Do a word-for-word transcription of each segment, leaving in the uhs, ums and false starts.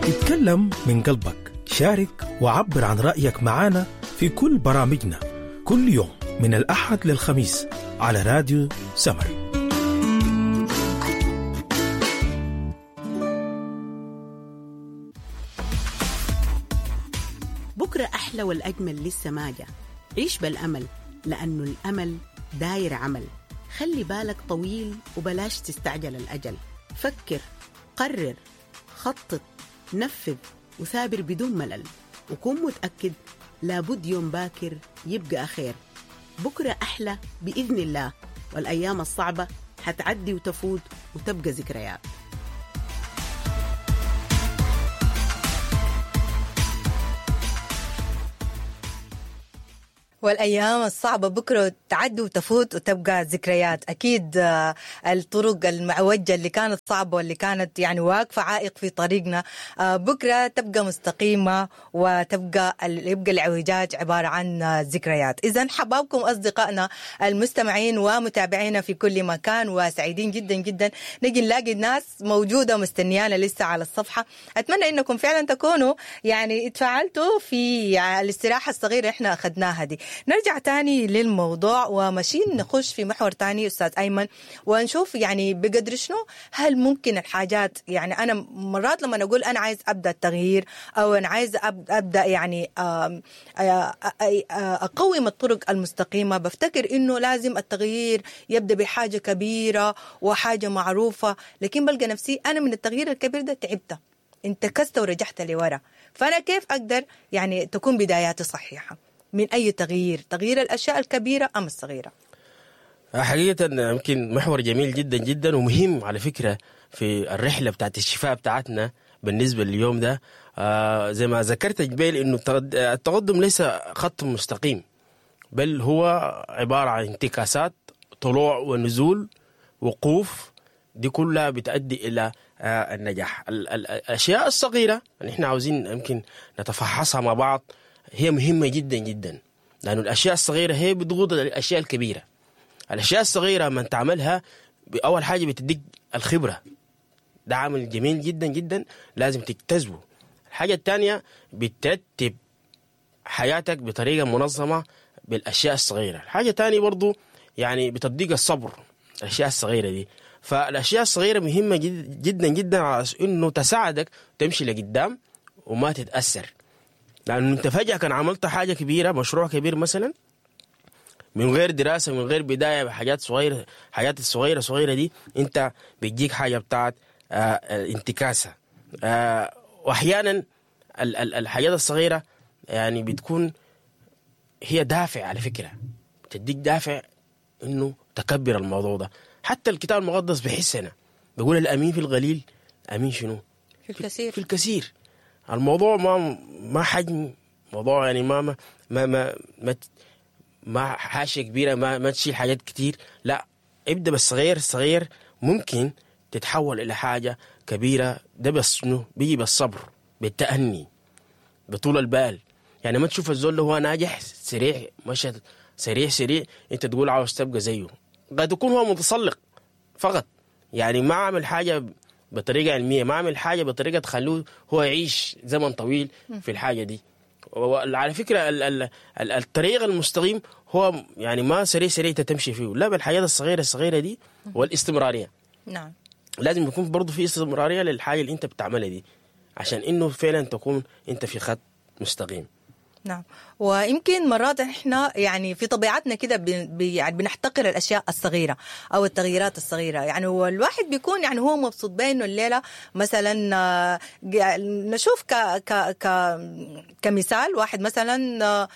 اتكلم من قلبك، شارك وعبر عن رأيك معنا في كل برامجنا كل يوم من الأحد للخميس على راديو سمر. بكرة أحلى والأجمل لسه ما جا. عيش بالأمل، لأنه الأمل داير عمل. خلي بالك طويل وبلاش تستعجل الأجل. فكر، قرر، خطط، نفذ، وثابر بدون ملل، وكن متأكد لابد يوم باكر يبقى خير. بكرة أحلى بإذن الله، والأيام الصعبة حتعدي وتفوت وتبقى ذكريات. والأيام الصعبة بكرة تعدي وتفوت وتبقى ذكريات. أكيد الطرق المعوجة اللي كانت صعبة واللي كانت يعني واقفة عائق في طريقنا بكرة تبقى مستقيمة، وتبقى يبقى الإعوجاج عبارة عن ذكريات. إذن حبابكم أصدقائنا المستمعين ومتابعينا في كل مكان، وسعيدين جدا جدا نجي نلاقي الناس موجودة مستنيانا لسه على الصفحة. أتمنى إنكم فعلا تكونوا يعني اتفاعلتوا في الاستراحة الصغيرة إحنا أخذناها دي. نرجع تاني للموضوع وماشيين نخش في محور تاني أستاذ أيمن، ونشوف يعني بقدر شنو هل ممكن الحاجات، يعني أنا مرات لما أقول أنا عايز أبدأ التغيير أو أنا عايز أبدأ يعني أقوم الطرق المستقيمة، بفتكر إنه لازم التغيير يبدأ بحاجة كبيرة وحاجة معروفة، لكن بلقى نفسي أنا من التغيير الكبير ده تعبت، انتكست ورجعت لورا. فأنا كيف أقدر يعني تكون بداياتي صحيحة من أي تغيير، تغيير الأشياء الكبيرة أم الصغيرة؟ حقيقة يمكن محور جميل جدا جدا ومهم على فكرة في الرحلة بتاعت الشفاء بتاعتنا بالنسبة لليوم ده. آه زي ما ذكرت جبيل إنه التقدم ليس خط مستقيم، بل هو عبارة عن انتكاسات، طلوع ونزول، وقوف، دي كلها بتؤدي إلى آه النجاح. الأشياء الصغيرة اللي احنا عاوزين يمكن نتفحصها مع بعض هي مهمة جدا جدا، لأنه الأشياء الصغيرة هي بتقود الأشياء الكبيرة. الأشياء الصغيرة من تعملها أول حاجة بتديك الخبرة، ده عامل جميل جدا جدا لازم تجتذبه. الحاجة الثانية بترتب حياتك بطريقة منظمة بالأشياء الصغيرة. الحاجة الثانية برضو يعني بتديك الصبر، الأشياء الصغيرة دي. فالأشياء الصغيرة مهمة جدا جدا على إنه تساعدك تمشي لقدام وما تتأثر، لأنه أنت فجأة كان عملت حاجة كبيرة، مشروع كبير مثلا، من غير دراسة، من غير بداية، بحاجات صغيرة، حاجات الصغيرة صغيرة دي أنت بتجيك حاجة بتاعت آه انتكاسة. آه وأحيانا الحاجات الصغيرة يعني بتكون هي دافع على فكرة، بتديك دافع إنه تكبر الموضوع ده. حتى الكتاب المقدس بحسنا بيقول الأمين في القليل أمين شنو؟ في الكثير. في الكثير. الموضوع ما ما حجم موضوع، يعني ما ما ما ما, ما, ما حاشية كبيرة، ما ما تشيل حاجات كتير، لا ابدأ بالصغير الصغير ممكن تتحول إلى حاجة كبيرة. ده بس شنو بيجي بالصبر، بالتأني، بطول البال. يعني ما تشوف الزول اللي هو ناجح سريع، مشى سريع سريع، انت تقول عاوز تبقى زيه. قد يكون هو متسلق فقط، يعني ما عمل حاجة بطريقة علمية، ما عمل حاجة بطريقة تخلوه هو يعيش زمن طويل في الحاجة دي. وعلى فكرة ال ال ال الطريق المستقيم هو يعني ما سريع سريع تمشي فيه، لا، بالحاجات الصغيرة الصغيرة دي والاستمرارية. نعم، لازم يكون برضو في استمرارية للحاجة اللي انت بتعملها دي، عشان انه فعلا تكون انت في خط مستقيم. نعم، ويمكن مرات احنا يعني في طبيعتنا كده بن يعني بنحتقر الاشياء الصغيرة او التغييرات الصغيرة. يعني هو الواحد بيكون يعني هو مبسوط بانه الليلة مثلا، نشوف ك ك ك كمثال واحد مثلا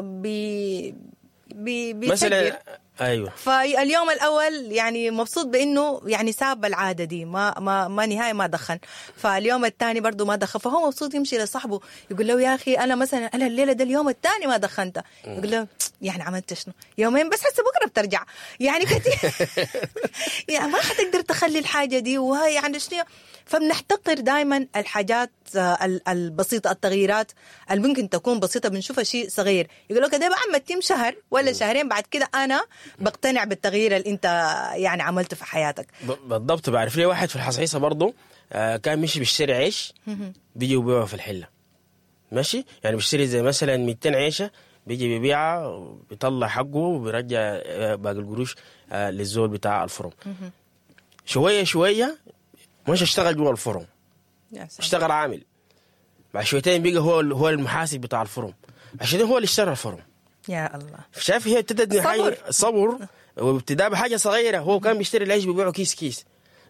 بي بي مثلا، ايوه، فاليوم الاول يعني مبسوط بانه يعني ساب العادة دي، ما ما ما نهاية ما دخن، فاليوم الثاني برضه ما دخن، فهو مبسوط يمشي لصاحبه يقول له يا اخي انا مثلا انا الليلة ده اليوم الثاني ما دخنت، يقول له يعني عملت شنو يومين بس، هسه بكره بترجع يعني كثير يعني ما حتقدر تخلي الحاجة دي، وهي يعني شنو. فبنحتقر دائما الحاجات البسيطة، التغييرات اللي ممكن تكون بسيطة بنشوفها شيء صغير، يقول لك ده بقى ما تتم شهر ولا شهرين بعد كده انا بقتنع بالتغيير اللي انت يعني عملته في حياتك. بالضبط. بعرف لي واحد في الحصيصه برضه آه كان مشي بيشتري عيش بيجي وبيبيعه في الحلة، ماشي؟ يعني بيشتري زي مثلا مئتين عيشه، بيجي بيبيعها وبيطلع حقه وبيرجع آه، باقي القروش آه للزول بتاع الفرن. شوية شوية مش اشتغل جوا الفرن، يا سلام. اشتغل عامل. بعد شويتين بقى هو هو المحاسب بتاع الفرن، عشان هو اللي اشترى الفرن. يا الله. شايف هي ابتدت من صبر. حاجة صبر، وابتداء بحاجة صغيرة. هو كان بيشتري العيش بيبيعه كيس كيس،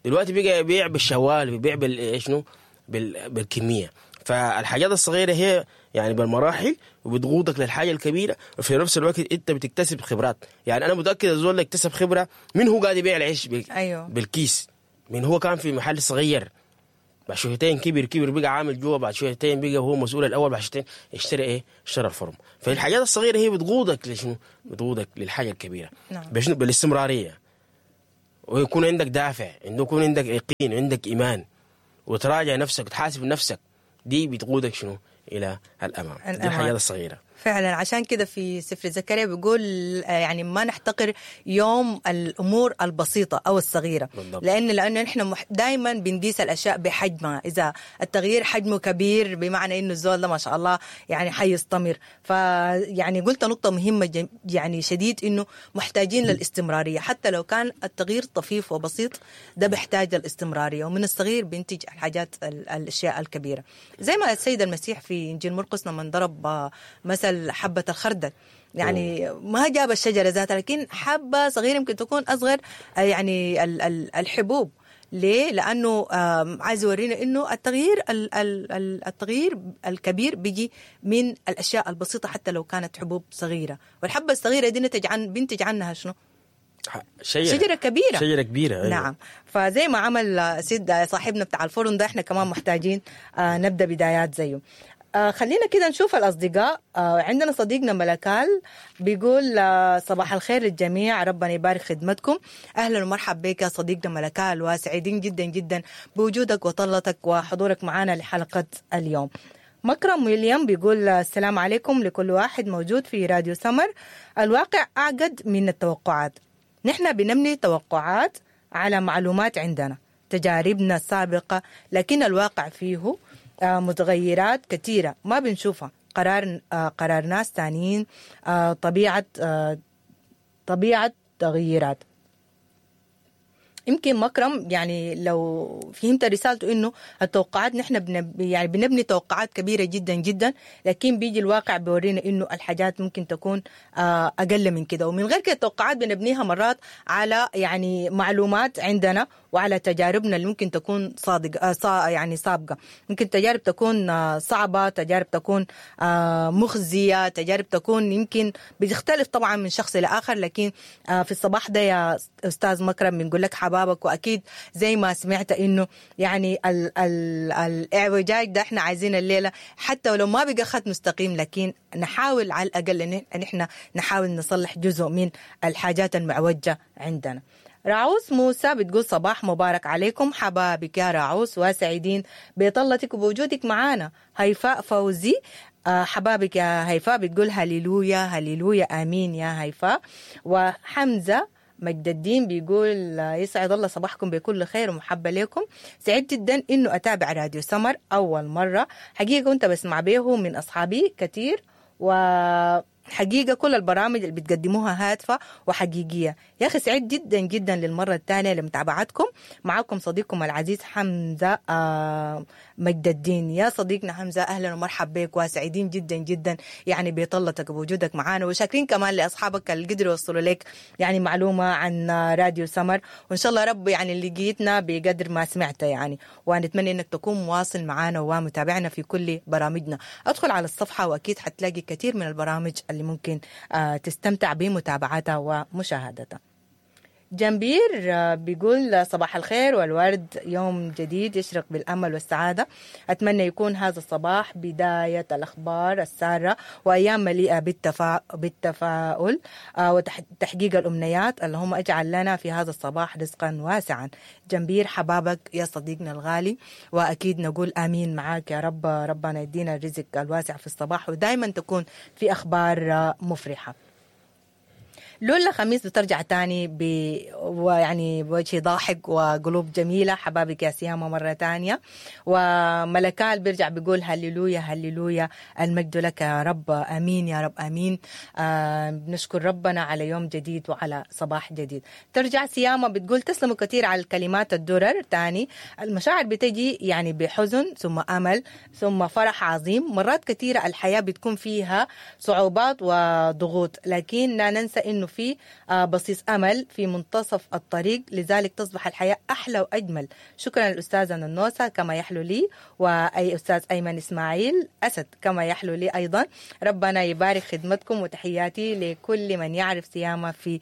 دلوقتي بقى يبيع بالشوال، بيبيع بال شنو بال... بالكمية. فالحاجات الصغيرة هي يعني بالمراحل وبتقودك للحاجة الكبيرة، وفي نفس الوقت انت بتكتسب خبرات. يعني انا متاكد الزول اللي اكتسب خبره من هو قاعد يبيع العيش بال... أيوه. بالكيس، من هو كان في محل صغير، بعد شويتين كبر كبر بقى عامل جوا، بعد شويتين بقى هو مسؤول الاول، بعد شويتين اشترى ايه؟ اشترى الفرن. فالحاجات الصغيرة هي بتقودك لشنو؟ بتقودك للحاجة الكبيرة. نعم. بشنو؟ بالاستمراريه، ويكون عندك دافع، انه يكون عندك يقين، عندك ايمان، وتراجع نفسك وتحاسب نفسك. دي بتقودك شنو؟ الى الامام. دي الأمام. الحاجات الصغيرة. فعلا، عشان كده في سفر زكريا بيقول آه، يعني ما نحتقر يوم الامور البسيطة او الصغيرة. بالضبط. لان لانه نحن دائما بنقيس الاشياء بحجمها، اذا التغيير حجمه كبير بمعنى انه الزول ده ما شاء الله يعني حيستمر. فيعني قلت نقطة مهمة جم- يعني شديد، انه محتاجين للاستمراريه حتى لو كان التغيير طفيف وبسيط، ده بيحتاج الاستمرارية، ومن الصغير بينتج الحاجات ال- الاشياء الكبيرة. زي ما السيد المسيح في انجيل مرقس لما ضرب آه، مثل حبه الخردل، يعني ما جاب الشجرة ذاتها، لكن حبه صغيرة يمكن تكون اصغر آه، يعني ال- ال- الحبوب. ليه؟ لانه آم، عايز يورينا انه التغيير ال- ال- ال- التغيير الكبير بيجي من الاشياء البسيطة حتى لو كانت حبوب صغيرة، والحبه الصغيرة دي نتج عن بينتج عنها شنو؟ شجرة شجرة كبيرة. شجرة كبيرة، أيوة. نعم. فزي ما عمل سيد صاحبنا بتاع الفرن ده، احنا كمان محتاجين آه، نبدا بدايات زيه. آه، خلينا كده نشوف الأصدقاء. آه، عندنا صديقنا ملكال بيقول آه، صباح الخير للجميع، ربنا يبارك خدمتكم. أهلا ومرحبا بك يا صديقنا ملكال، وسعيدين جدا جدا بوجودك وطلتك وحضورك معنا لحلقة اليوم. مكرم ويليام بيقول السلام عليكم لكل واحد موجود في راديو سمر. الواقع أعقد من التوقعات، نحن بنبني توقعات على معلومات عندنا، تجاربنا السابقة، لكن الواقع فيه آه، متغيرات كثيرة ما بنشوفها. قرار آه، قرار ناس تانيين، آه، طبيعة آه، طبيعة تغييرات. يمكن مكرم يعني لو فهمت رسالته انه التوقعات نحن بنب يعني بنبني توقعات كبيرة جدا جدا، لكن بيجي الواقع بيورينا انه الحاجات ممكن تكون آه، اقل من كده. ومن غير كده التوقعات بنبنيها مرات على يعني معلومات عندنا وعلى تجاربنا اللي ممكن تكون صادق آه، صا يعني سابقه. ممكن تجارب تكون آه، صعبة، تجارب تكون آه، مخزيه، تجارب تكون يمكن بتختلف طبعا من شخص لاخر. لكن آه، في الصباح ده يا استاذ مكرم بنقول لك حبابك، واكيد زي ما سمعت انه يعني ال ال الاعوجاج ده احنا عايزين الليلة حتى ولو ما بقى خط مستقيم، لكن نحاول على الاقل ان احنا نحاول نصلح جزء من الحاجات المعوجه عندنا. راعوس موسى بتقول صباح مبارك عليكم حبابك يا راعوس، وسعيدين بطلتك وبوجودك معانا. هيفاء فوزي آه، حبابك يا هيفاء، بتقول هللويا هللويا امين يا هيفاء. وحمزة مجد الدين بيقول آه، يسعد الله صباحكم بكل خير ومحبة لكم. سعيد جدا انه اتابع راديو سمر اول مرة، حقيقة كنت بسمع به من اصحابي كثير، وحقيقة كل البرامج اللي بتقدموها هادفة وحقيقية. يا أخي سعيد جدا جدا للمرة الثانية لمتابعتكم. معكم صديقكم العزيز حمزة آه، مجد الدين. يا صديقنا حمزة أهلا ومرحبا بك، وسعيدين جدا جدا يعني بطلتك وبوجودك معانا، وشاكرين كمان لأصحابك اللي قدروا يوصلوا لك يعني معلومة عن راديو سمر، وإن شاء الله رب يعني اللي لقيتنا بقدر ما سمعت يعني، ونتمنى إنك تكون مواصل معانا ومتابعنا في كل برامجنا. أدخل على الصفحة وأكيد حتلاقي كثير من البرامج اللي ممكن آه، تستمتع بمتابعتها ومشاهدتها. جنبير آه، بيقول صباح الخير والورد، يوم جديد يشرق بالأمل والسعادة. أتمنى يكون هذا الصباح بداية الأخبار السارة وأيام مليئة بالتفا... بالتفاؤل آه، وتحقيق الأمنيات. اللهم اجعل لنا في هذا الصباح رزقا واسعا. جنبير حبابك يا صديقنا الغالي، وأكيد نقول آمين معاك يا رب، ربنا يدينا الرزق الواسع في الصباح ودائما تكون في أخبار آه، مفرحة. لولا خميس بترجع تاني ب ويعني بوجه ضاحك وقلوب جميلة. حبابك يا سيامه مرة تانية. وملكال بيرجع بيقول هللويا هللويا المجد لك يا رب، امين يا رب امين. آه بنشكر ربنا على يوم جديد وعلى صباح جديد. ترجع سيامه بتقول تسلموا كثير على الكلمات الدرر. تاني المشاعر بتجي يعني بحزن ثم امل ثم فرح عظيم. مرات كثيرة الحياة بتكون فيها صعوبات وضغوط، لكن لا ننسى انه في بصيص امل في منتصف الطريق، لذلك تصبح الحياة احلى واجمل. شكرا للاستاذه ننوسه كما يحلو لي، واي استاذ ايمن اسماعيل اسد كما يحلو لي ايضا. ربنا يبارك خدمتكم، وتحياتي لكل من يعرف سيامه في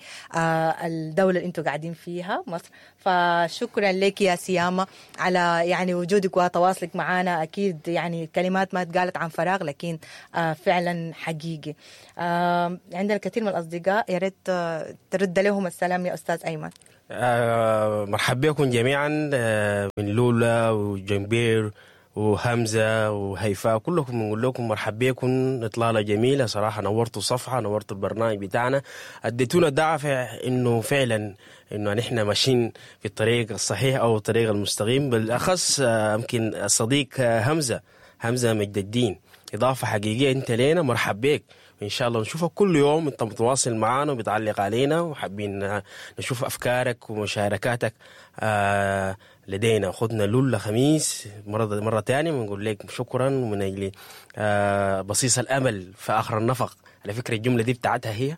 الدولة اللي انتم قاعدين فيها مصر. فشكرا لك يا سيامه على يعني وجودك وتواصلك معنا. اكيد يعني كلمات ما اتقالت عن فراغ، لكن فعلا حقيقي. عندنا الكثير من الاصدقاء، يا ريت ترد لهم السلام يا استاذ ايمن. آه مرحبا بكم جميعا، آه من لولا وجنبير وهمزة وهيفاء، كلكم بنقول لكم مرحبا بكم. اطلالة جميلة صراحة، نورتوا الصفحة، نورتوا البرنامج بتاعنا، اديتونا دافع انه فعلا انه نحن ماشيين في الطريق الصحيح او الطريق المستقيم. بالاخص يمكن الصديق همزه همزه مجد الدين، اضافه حقيقية انت لينا، مرحبا بك. وان شاء الله نشوفك كل يوم انت متواصل معنا وبتعلق علينا، وحابين نشوف افكارك ومشاركاتك آه لدينا. خدنا لولا خميس مرة مرة ثانية بنقول لك شكرا، ومن اجل آه بصيص الامل في اخر النفق. على فكرة الجملة دي بتاعتها هي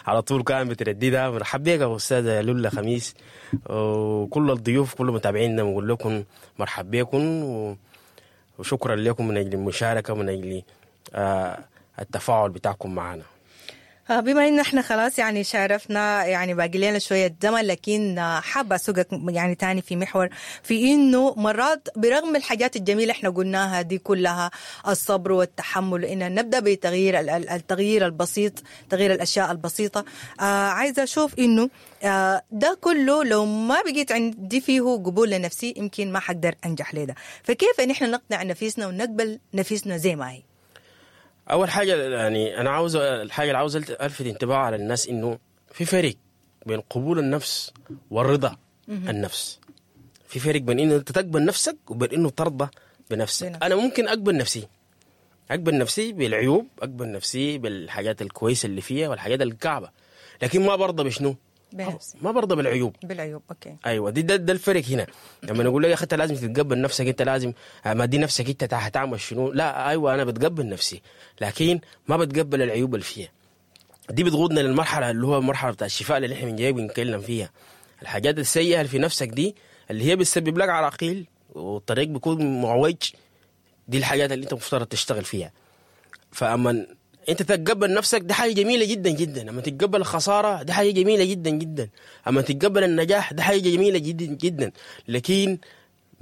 على طول كان بترددها. مرحبا بك يا استاذه لولا خميس، وكل الضيوف كل متابعينا بنقول لكم مرحبا بكم، وشكرا لكم من اجل المشاركة ومن اجل آه التفاعل بتاعكم معنا. بما ان احنا خلاص يعني شارفنا، يعني باقي لنا شوية زمن، لكن حابة اسوقك يعني تاني في محور في انه مرات برغم الحاجات الجميلة احنا قلناها دي كلها، الصبر والتحمل، ان نبدا بتغيير التغيير البسيط، تغيير الاشياء البسيطة. آه عايزه اشوف انه آه ده كله لو ما بقيت عندي فيه قبول لنفسي يمكن ما حقدر انجح لده. فكيف ان احنا نقنع نفسنا ونقبل نفسنا زي ما هي؟ اول حاجة يعني انا عاوز الحاجة اللي عاوز الفت انتباه على الناس، انه في فرق بين قبول النفس والرضا النفس. في فرق بين انه انت تقبل نفسك وبين انه ترضى بنفسك. بنفسك. انا ممكن اقبل نفسي، اقبل نفسي بالعيوب، اقبل نفسي بالحاجات الكويسة اللي فيها والحاجات الكعبة، لكن ما برضى بشنو؟ بنفسي. ما برضى بالعيوب. بالعيوب okay. ايوه دي ده, ده الفرق هنا. لما نقول لك يا اخي انت لازم تتقبل نفسك، انت لازم ما دي نفسك انت هتعمل شنو؟ لا ايوه انا بتقبل نفسي، لكن ما بتقبل العيوب اللي فيها. دي بتقودنا للمرحلة اللي هو المرحلة بتاع الشفاء اللي احنا من جاي بنتكلم فيها. الحاجات السيئة اللي في نفسك دي اللي هي بتسبب لك عراقيل والطريق بيكون معوج، دي الحاجات اللي انت مفترض تشتغل فيها. فاما انت تتقبل نفسك دي حاجة جميلة جدا جدا، اما تتقبل الخسارة دي حاجة جميلة جدا جدا، اما تتقبل النجاح دي حاجة جميلة جدا جدا، لكن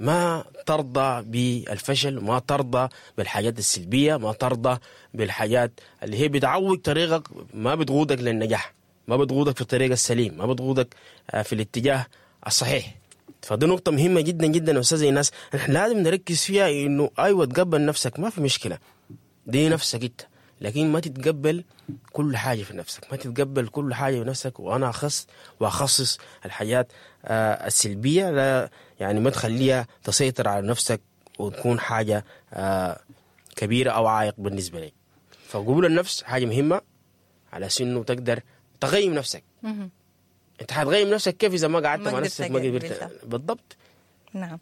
ما ترضى بالفشل، ما ترضى بالحاجات السلبية، ما ترضى بالحاجات اللي هي بتعوج طريقك، ما بتقودك للنجاح، ما بتقودك في الطريق السليم، ما بتقودك في الاتجاه الصحيح. فدي نقطة مهمة جدا جدا استاذ ايناس، نحن لازم نركز فيها، انه ايوه تقبل نفسك ما في مشكلة، دي نفسك انت، لكن ما تتقبل كل حاجة في نفسك، ما تتقبل كل حاجة في نفسك. وأنا أخص وأخصص الحاجات آه السلبية، لا يعني ما تخليها تسيطر على نفسك وتكون حاجة آه كبيرة أو عائق بالنسبة لك. فقبول النفس حاجة مهمة على سنة تقدر تغيم نفسك. أنت هتغيم نفسك كيف إذا ما قعدت مع نفسك ما قدرت؟ بالضبط. نعم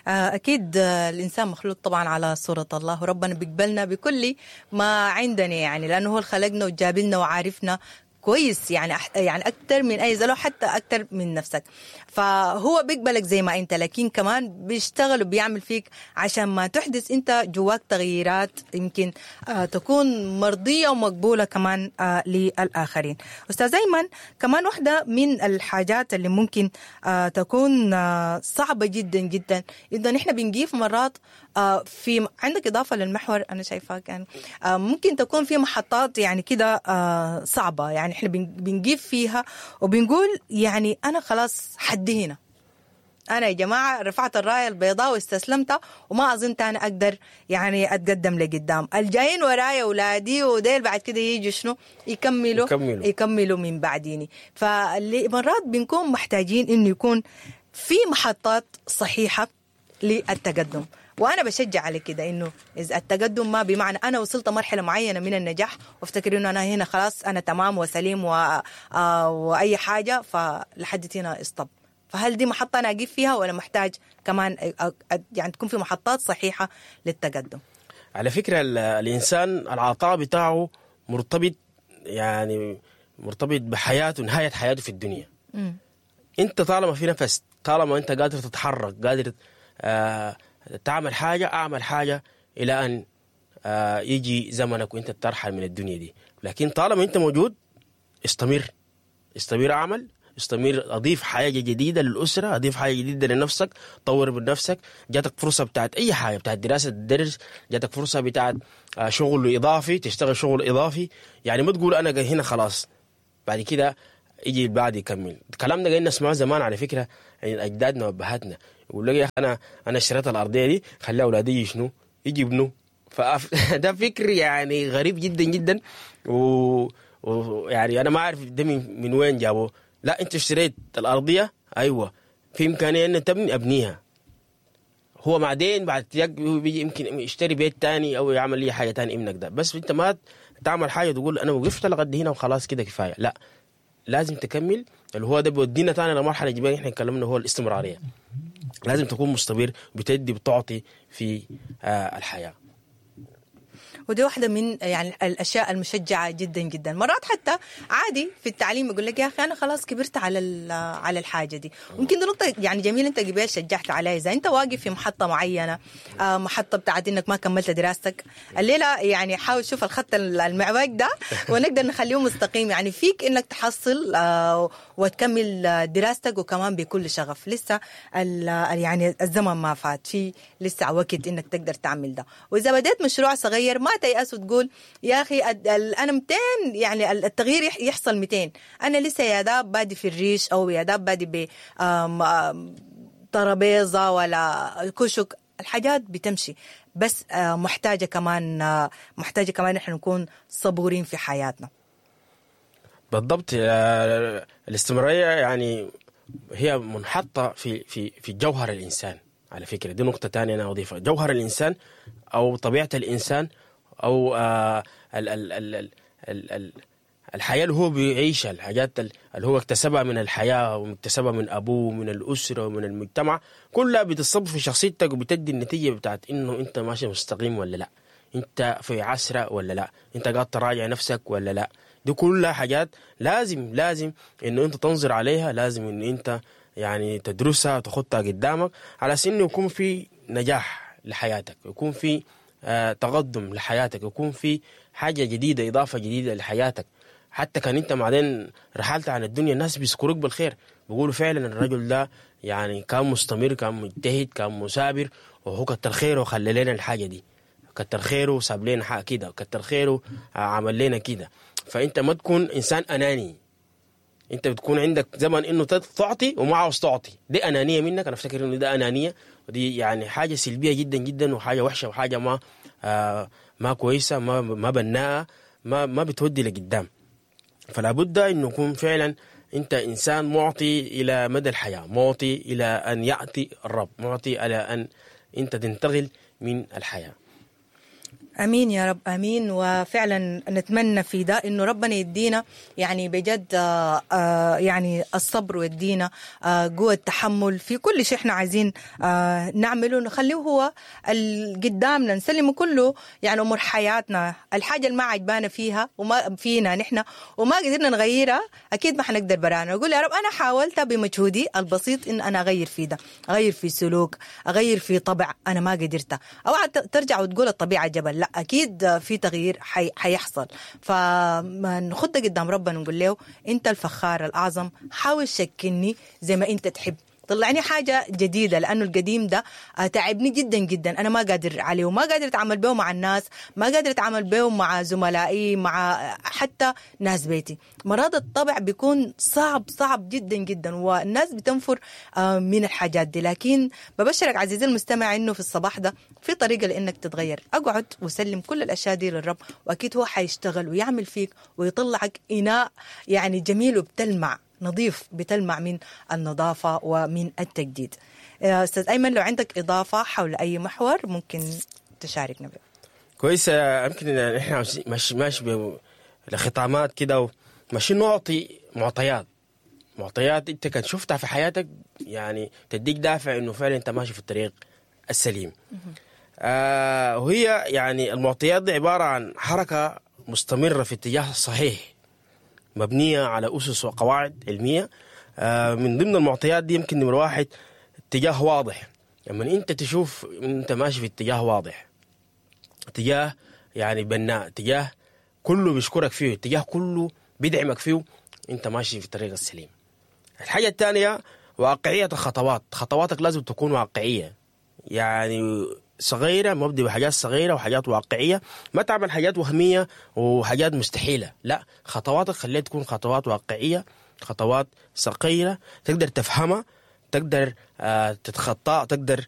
أكيد الإنسان مخلوق طبعا على صورة الله، وربنا بيقبلنا بكل ما عندنا، يعني لأنه هو خلقنا وجابلنا وعارفنا كويس، يعني يعني أكثر من أي زلو، حتى أكثر من نفسك. فهو بيقبلك زي ما أنت، لكن كمان بيشتغل وبيعمل فيك عشان ما تحدث أنت جواك تغييرات يمكن آه تكون مرضية ومقبولة كمان آه للآخرين. أستاذ أيمن، كمان واحدة من الحاجات اللي ممكن آه تكون آه صعبة جدا جدا، إذا نحن بنجيف مرات آه في عندك إضافة للمحور أنا شايفاه كان آه ممكن تكون في محطات يعني كده آه صعبة، يعني احنا بنجيب فيها وبنقول يعني انا خلاص حدي هنا، انا يا جماعة رفعت الراية البيضاء واستسلمت وما اظن تاني اقدر يعني اتقدم لقدام، الجايين ورايا اولادي وديل بعد كده يجوا شنو يكملوا يكملوا. يكملوا من بعديني. فمرات بنكون محتاجين انه يكون في محطات صحيحه للتقدم، وانا بشجع على كده انه اذا التقدم ما بمعنى انا وصلت مرحلة معينة من النجاح وافتكر انه انا هنا خلاص انا تمام وسليم و... آه واي حاجة، فلحد هنا stop. فهل دي محطة انا اقيف فيها ولا محتاج كمان أ- أ- يعني تكون في محطات صحيحه للتقدم؟ على فكرة ال- الإنسان العطاء بتاعه مرتبط، يعني مرتبط بحياته، نهاية حياته في الدنيا. مم. أنت طالما في نفس، طالما أنت قادر تتحرك، قادر آه تعمل حاجة، أعمل حاجة إلى أن آه يجي زمنك وأنت ترحل من الدنيا دي. لكن طالما أنت موجود استمر، استمر أعمل، استمر أضيف حاجة جديدة للأسرة، أضيف حاجة جديدة لنفسك، طور من نفسك. جاتك فرصة بتاعت أي حاجة، بتاعت دراسة تدرس، جاتك فرصة بتاعت آه، شغل إضافي تشتغل شغل إضافي. يعني ما تقول أنا هنا خلاص بعد كده يجي بعد يكمل. الكلام ده قاعدين نسمعه زمان على فكرة، يعني أجدادنا وأبهاتنا يقول لك يا أخي أنا أنا اشتريت الأرضية دي خلي أولادي يجي شنو يجي يبنوا. فأف... ده فكر يعني غريب جدا جدا، و... ويعني انا ما اعرف ده من, من وين جابوه. لا انت اشتريت الارضية، ايوه في امكانية ان تبني، ابنيها. هو بعدين بعد يك- بيجي يمكن يشتري بيت تاني او يعمل اي حاجة تاني ابنك ده. بس انت ما تعمل حاجة تقول انا وقفت لغد هنا وخلاص كده كفاية، لا لازم تكمل. اللي هو ده بيودينا تاني لمرحلة جبال احنا اتكلمنا، هو الاستمرارية. لازم تكون مستمر، بتدي بتعطي في آه الحياة. ودي واحدة من يعني الأشياء المشجعة جدا جدا. مرات حتى عادي في التعليم يقول لك يا أخي أنا خلاص كبرت على ال- على الحاجة دي. ممكن دي نقطة يعني جميلة أنت قبل شجعت عليها. إذا أنت واقف في محطة معينة، آه، محطة بتاعت إنك ما كملت دراستك الليلة، يعني حاول شوف الخط المعوج ده ونقدر نخليه مستقيم، يعني فيك إنك تحصل آه، وتكمل آه، دراستك وكمان بكل شغف. لسه ال- يعني الزمن ما فات، في لسه وقت انك تقدر تعمل ده. واذا بديت مشروع صغير ما تيأس وتقول يا اخي أد- ال- انا مئتين، يعني ال- التغيير يح- يحصل مئتين، انا لسه يا داب بادي في الريش او يا داب بادي ب آم، آم، ترابيزة ولا كشك. الحاجات بتمشي، بس آه، محتاجه كمان آه، محتاجه كمان احنا نكون صبورين في حياتنا. بالضبط. آه، الاستمرارية يعني هي منحطة في في في جوهر الإنسان. على فكرة دي نقطة تانية أنا أضيفها، جوهر الإنسان أو طبيعة الإنسان أو آه، ال ال ال ال ال ال الحياة اللي هو بيعيشها، الحاجات ال- اللي هو اكتسبها من الحياة واكتسبها من أبوه ومن الأسرة ومن المجتمع، كلها بتصب في شخصيتك وبتدي النتيجة بتاعت إنه أنت ماشي مستقيم ولا لا، أنت في عسرة ولا لا، أنت قاعد تراجع نفسك ولا لا. دي كلها حاجات لازم لازم إنه أنت تنظر عليها، لازم إنه أنت يعني تدرسها وتخطها قدامك على أساس إنه يكون في نجاح لحياتك، يكون في آه، تقدم لحياتك، يكون في حاجة جديدة، إضافة جديدة لحياتك. حتى كان انت بعدين رحلت عن الدنيا الناس بيذكروك بالخير، بيقولوا فعلا الرجل ده يعني كان مستمر، كان مجتهد، كان مثابر، وهو كتر خيره وخلى لنا الحاجة دي، كتر خيره وساب لنا حق كده، كتر خيره عمل لنا كده. فانت ما تكون انسان اناني، انت بتكون عندك زمن انه تعطي وما عاوز تعطي، دي انانية منك. انا افتكر انه ده انانية، ودي يعني حاجة سلبية جدا جدا، وحاجه وحشة، وحاجه ما آه ما كويسة، ما ما بناءه، ما ما بتودي لقدام. فلا بد انه يكون فعلا انت انسان معطي الى مدى الحياة، معطي الى ان ياتي الرب، معطي الى ان انت تنتقل من الحياة. امين يا رب، امين. وفعلا نتمنى في ده انه ربنا يدينا يعني بجد آه، آه، يعني الصبر، ويدينا آه، قوة التحمل في كل شيء احنا عايزين آه، نعمله، نخليه هو ال- قدامنا، نسلمه كله يعني امور حياتنا. الحاجة اللي ما عجبانا فيها وما فينا نحن وما قدرنا نغيرها، اكيد ما حنقدر برانا. نقول يا رب انا حاولت بمجهودي البسيط ان انا اغير في ده، اغير في سلوك، اغير في طبع، انا ما قدرت. اوعى ت- ترجع وتقول الطبيعة جبل، لا اكيد في تغيير حي... حيحصل. فما نخد قدام ربنا نقول له انت الفخار الاعظم، حاول شكلني زي ما انت تحب، طلعني حاجة جديدة، لانه القديم ده آه، تعبني جدا جدا، انا ما قادر عليه وما قادر اتعامل به مع الناس، ما قادر اتعامل به مع زملائي، مع حتى ناس بيتي. مرات الطبع بيكون صعب صعب جدا جدا، والناس بتنفر آه، من الحاجات دي. لكن ببشرك عزيزي المستمع انه في الصباح ده في طريقه لانك تتغير. اقعد وسلم كل الاشياء دي للرب، واكيد هو حيشتغل ويعمل فيك ويطلعك اناء يعني جميل وبتلمع، نظيف، بتلمع من النظافة ومن التجديد. آه، استاذ ايمن، لو عندك اضافه حول اي محور ممكن تشاركنا به. كويس. آه، يمكن إن احنا ماشي ماشي لختامات كده، ماشيين نعطي معطيات معطيات انت كان شفتها في حياتك يعني تديك دافع انه فعلا انت ماشي في الطريق السليم. آه وهي يعني المعطيات دي عبارة عن حركة مستمرة في اتجاه الصحيح مبنية على اسس وقواعد علمية. آه من ضمن المعطيات دي يمكن نمره واحد اتجاه واضح. لما انت تشوف انت ماشي في اتجاه واضح، اتجاه يعني بناء، اتجاه كله بيشكرك فيه، اتجاه كله بيدعمك فيه، انت ماشي في الطريق السليم. الحاجة الثانية واقعية الخطوات. خطواتك لازم تكون واقعية، يعني صغيرة، مبدي بحاجات صغيرة وحاجات واقعية، ما تعمل حاجات وهمية وحاجات مستحيلة. لا، خطواتك خليها تكون خطوات واقعية، خطوات صغيرة تقدر تفهمها، تقدر آه تتخطاها، تقدر